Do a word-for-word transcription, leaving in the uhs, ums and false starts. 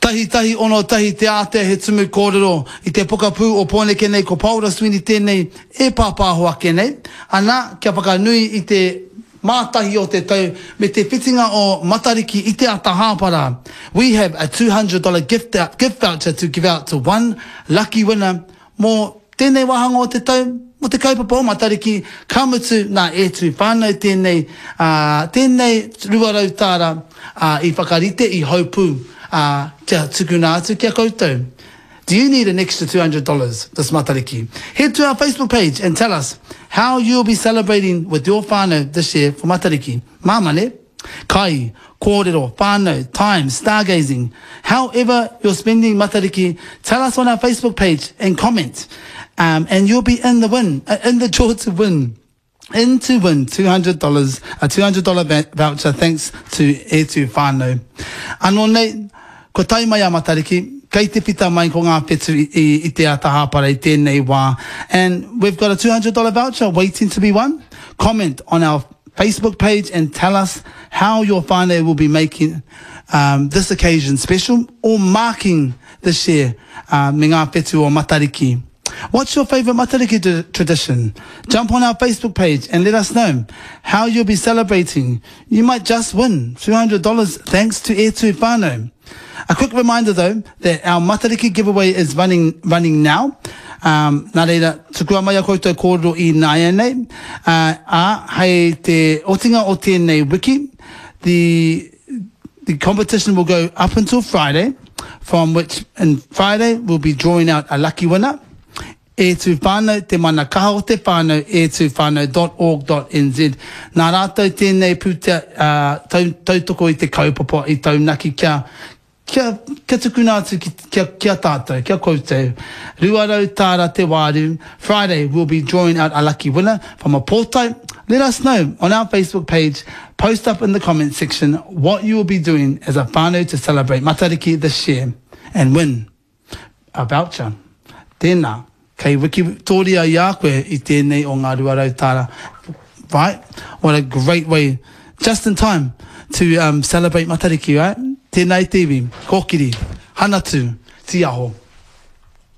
Tahi tahi ono tahi te ātea he tumu kōrero i te pokapū o Pōneke nei ko Paora Sweeney tēnei e pāpāho ake nei. Ana, kia whakanui i te mātahi o te tau me te whitinga o Matariki i te ata hāpara. We have a two hundred dollar gift, gift voucher to give out to one lucky winner mō tēnei wāhanga o te tau, mō te kaupapa o Matariki, ka mutu nā E Tū Whānau tēnei, ā, tēnei rua rau tāra, ā, i whakarite, i haupū, ā, kia tukuna atu ki a koutou. Do you need an extra two hundred dollars this Matariki? Head to our Facebook page and tell us how you'll be celebrating with your whānau this year for Matariki. Māmā, nē? Kai, kōrero, whānau, time, stargazing. However you're spending Matariki, tell us on our Facebook page and comment. Um, and you'll be in the win, uh, in the draw to win. In to win two hundred dollars, a two hundred dollar voucher thanks to E Tū Whānau. Anō nei, ko tae mai a Matariki, kei te whita mai ko ngā whetu i, i, i te ata hāpara i tēnei wā. And we've got a two hundred dollar voucher waiting to be won. Comment on our Facebook page and tell us how your whānau will be making um, this occasion special or marking this year uh, me ngā whetu o Matariki. What's your favourite Matariki d- tradition? Jump on our Facebook page and let us know how you'll be celebrating. You might just win two hundred dollars thanks to E Tū Whānau. A quick reminder though that our Matariki giveaway is running, running now. Um, nā reira, tukua mai a koutou kōrero i nāianei. Uh, ā, hei te otinga o tēnei wiki, the, the competition will go up until Friday, from which in Friday we'll be drawing out a lucky winner. E Tū Whānau, te mana kaha o te whānau, e tū whānau dot org dot N Z. Nā rātou tēnei pūtea, uh, tau, tautoko i te kaupapa i taunaki kia, kia, kia tukuna atu ki, kia, kia tātou, kia koutou. Rua rau tāra te wāru. Friday we'll be drawing out a lucky winner from a pōtae. Let us know on our Facebook page. Post up in the comment section what you will be doing as a whānau to celebrate Matariki this year and win a voucher. Tēnā, kei wikitoria i a koe i tēnei o ngā rua rau tāra. Right? What a great way, just in time to um, celebrate Matariki, right? Tēnā i te iwi, kōkiri, hanatu, tiaho.